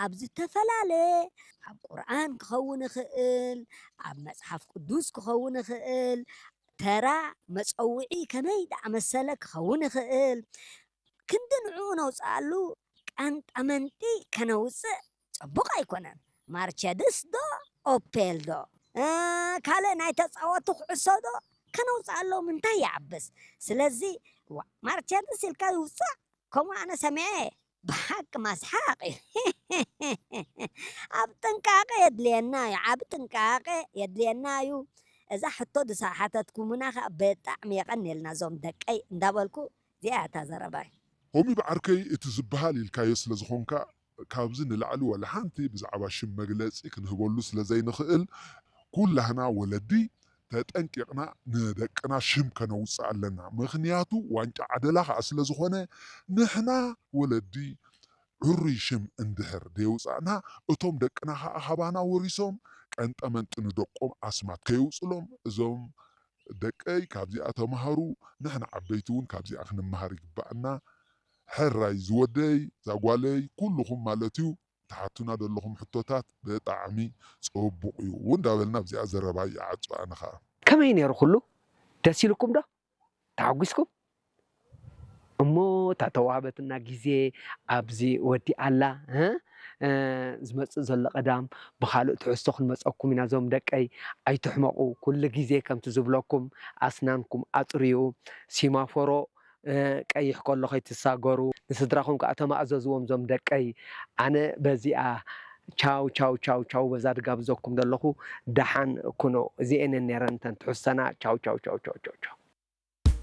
ኣብ ዝተፈላለየ ኣብ ቁርኣን ክኸውን ይኽእል፣ ኣብ መጽሓፍ ቅዱስ ክኸውን ይኽእል፣ ተራ መጸውዒ ከመይ ደኣ መሰለ ክኸውን ይኽእል። ክንዲ ንዕኡ ነውፅኣሉ ቀንጠመንጢ ከነውፅእ ጽቡቕ ኣይኮነን። ማርቸድስ ዶ ኦፔል ዶ ካልእ ናይ ተፃወቱ ኩዕሶ ዶ ከነውፅኣሎም እንታይ ይዓብስ? ስለዚ ማርቸድስ ኢልካ ይውፃእ ከምኡ ኣነ ሰሚዐ ብሓቂ ማስሓቕ እዩ። ኣብ ጥንቃቄ የድልየና እዩ፣ ዓብ ጥንቃቄ የድልየና እዩ። እዛ ሕቶ ዝሓተትኩምና ከዓ ብጣዕሚ የቐንየልና እዞም ደቀይ እንዳበልኩ እዚኣ እታ ዘረባይ። ሆሚ ብዓርከይ እቲ ዝበሃል ኢልካዮ ስለ ዝኾንካ ካብዚ ንላዕሊ ዋላ ሓንቲ ብዛዕባ ሽም መግለጺ ክንህበሉ ስለ ዘይንኽእል ኩላህና ወለዲ ተጠንቂቕና ንደቅና ሽም ከነውፅእ ኣለና። ምኽንያቱ ዋንጫ ዓደላ ከዓ ስለ ዝኾነ ንሕና ወለዲ ዕሩይ ሽም እንድሕር ደየውፃእና እቶም ደቅና ከዓ ካባና ወሪሶም ቀንጠመንጢ ንደቆም ኣስማት ከየውፅሎም እዞም ደቀይ ካብዚኣ ተምሃሩ ንሕና ዓበይቲ እውን ካብዚኣ ክንምሃር ይግባኣና። ሕራይ ዝወደይ ዛጓለይ ኩልኹም ማለት እዩ ትሓቱና ዘለኹም ሕቶታት ብጣዕሚ ፅቡቕ እዩ እውን እንዳበልና ኣብዚኣ ዘረባ ይዓፁ ኣነ ከዓ ከመይ ነይሩ ኩሉ ደስ ኢልኩም ዶ ተሓጒስኩም እሞ እታ ተዋህበትና ግዜ ኣብዚ ወዲኣላ ዝመፅእ ዘሎ ቀዳም ብካልእ ትሕዝቶ ክንመፀኩም ኢና ዞም ደቀይ ኣይትሕመቑ ኩሉ ግዜ ከምቲ ዝብለኩም ኣስናንኩም ኣፅርዩ ሲማፎሮ ቀይሕ ከሎ ከይትሳገሩ ንስድራኹም ከዓ ተማእዘዝዎም ዞም ደቀይ ኣነ በዚኣ ቻው ቻው ቻው ቻው በዛ ድጋብዘኩም ዘለኹ ደሓን ኩኑ እዚኤንን ነረን ተን ትሕዝተና ቻው ቻው ቻው ቻው ቻው ቻው